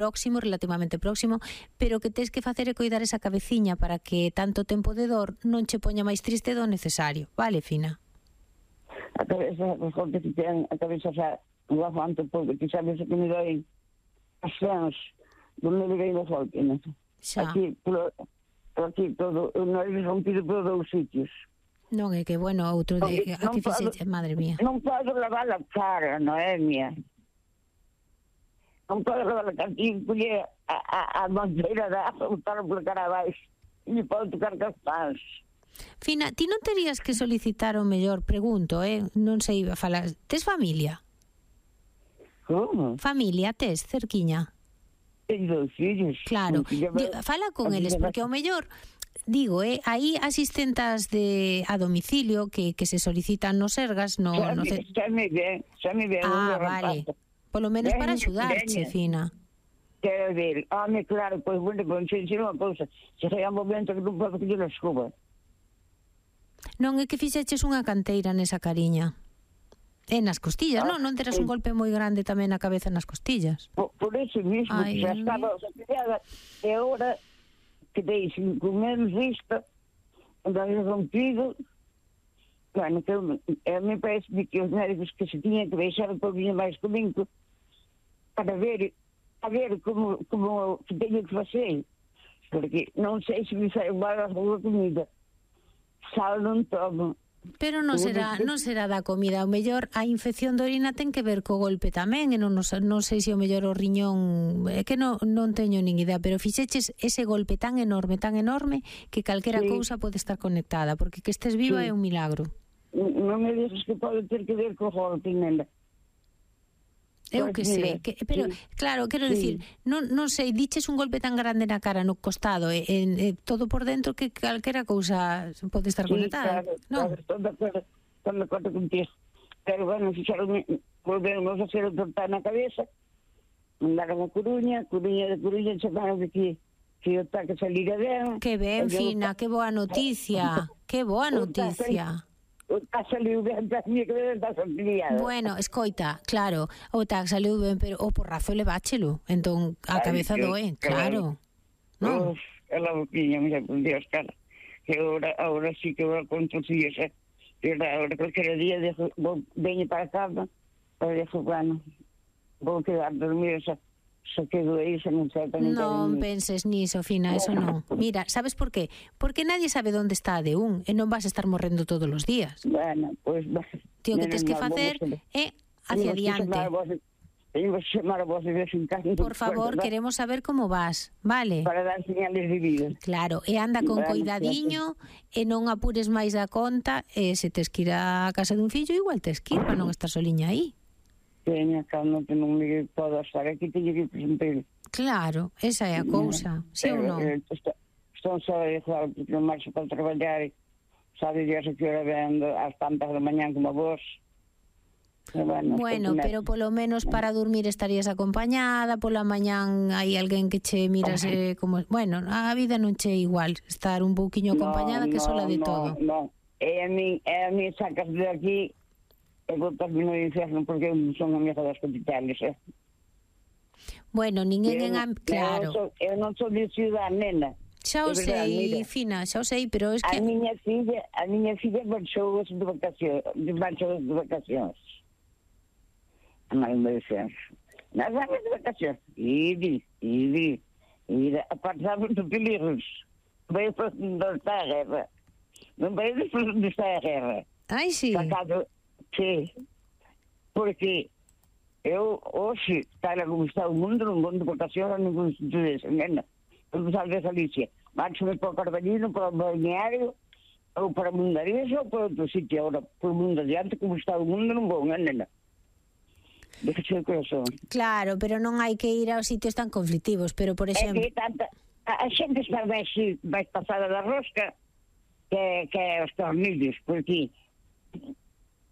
próximo, relativamente próximo, pero que tes que facer é coidar esa cabeciña para que tanto tempo de dor non che poña máis triste do necesario, vale, Fina? A cabeza, mejor que te ten a cabeza xa no aguanto, porque ti sabes que me doy as fans donde me doy no golpe, non? Xa. Aquí todo, non é rompido por dous sitios. Non é que, bueno, outro de... A que fixeche, madre mía. Non podo lavar a cara, Noemia. Non podo lavar a cara. E collé a bandeira da botar por cara abaixo. E me podo tocar cas pans. Fina, ti non terías que solicitar o mellor, pregunto, non sei falar... Tes familia? Como? Familia, tes, cerquiña? Teño 2 fillos. Claro, fala con eles, porque ao mellor, digo, hai asistentas a domicilio que se solicitan no Sergas, no... Xa me ven. Vale. Polo menos para axudarche, Fina. Quero ver, claro, pois, bueno, se unha cousa, se hai un momento que non podo coller a escoba. Non é que fixeches unha canteira nesa cariña. Nas costillas, non terás un golpe moi grande tamén na cabeza nas costillas. Por eso mismo, xa estaba sacrificada, e agora que dei 5 meses vista, andai rompido, bueno, que a mí parece que os médicos que se tiñan que deixar un pouquinho máis comigo para ver como que teño que facer, porque non sei se me sai mal a comida, sal non tomo. Pero non será da comida, o mellor a infección de orina ten que ver co golpe tamén, e non sei se o mellor o riñón, é que non teño nin idea, pero fixeches ese golpe tan enorme que calquera cousa pode estar conectada, porque que estés viva é un milagro. Non me dices que pode ter que ver co golpe, nena. Eu que sei, pero claro, quero dicir, non sei, diches un golpe tan grande na cara, no costado, todo por dentro, que calquera cousa pode estar conectada. Claro, estou de acordo contigo. Pero bueno, volvemos a hacer o tortar na cabeza, mandaron a Coruña chamaron de que o taque salira ben. Que ben, Fina, que boa noticia, que boa noticia. Saliu ben, bueno, escoita, claro, o TAC saliu ben, pero o porrazo leváchelo, entón a cabeza doe, claro. Non? Ela boquiña, mira, por Dios, cara, que ahora sí que vou con tus fillos, que ahora cualquier día veñe para casa, para dejo, bueno, vou quedar dormir, se quedo aí, se non sei tamén. Non penses niso, Fina, eso non. Mira, sabes por qué? Porque nadie sabe onde está a D1 e non vas a estar morrendo todos os días. Bueno, pois... Tío, que tes que facer é hacia adiante. Teño que chamar a vos de vez en cando. Por favor, queremos saber como vas, vale? Para dar señales de vida. Claro, e anda con coidadiño e non apures máis da conta, e se tes que ir a casa dun fillo, igual tes que ir para non estar soliña aí. Teña calma, que non me podo estar aquí, teño que presentar. Claro, esa é a cousa, sí ou non? Estou só a dejar, porque non marcho para traballar, sabe Dios que hora vendo ás tantas da mañán como a vos. Bueno, pero polo menos para dormir estarías acompañada, pola mañán hai alguén que che mirase como... Bueno, a vida non che igual, estar un pouquiño acompañada que sola de todo. Non, e a mí sacas de aquí e botasme no inferno porque son amiga das capitales, Bueno, ninguén claro. Eu non sou de ciudad, nena. Xa o sei, Fina, xa o sei, pero es que... A miña filla marchou de vacacións. A máis me dixen, nas vagas de vacacións, e a pasamos de peligros. Veio para onde está a guerra. Non veio para onde está a guerra. Ai, sí. Sí, porque eu hoxe, tal como está o mundo, non vou de vacacións a ningún sitio dese, nena. Eu salve a Galicia. Marcho para o Carbalino, para o balneario, ou para Mundarisa, ou para outro sitio. Agora, por mundo adiante, como está o mundo, non vou, nena. Déjese o corazón. Claro, pero non hai que ir aos sitios tan conflictivos, pero, por exemplo... É que a xente está máis pasada da rosca que os tornillos, porque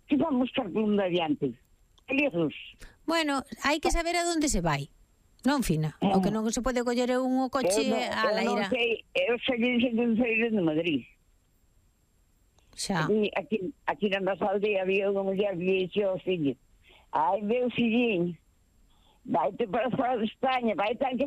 que vamos estar por mundo adiante? Peligros. Bueno, hai que saber a onde se vai. Non, Fina? O que non se pode coller é un coche a la ira. Eu saí de Madrid. Xa. Aquí na nosa aldea había unha muller que dixo ao fillo: ai, meu filliño, Vai-te para fora de Espanha, vai estar que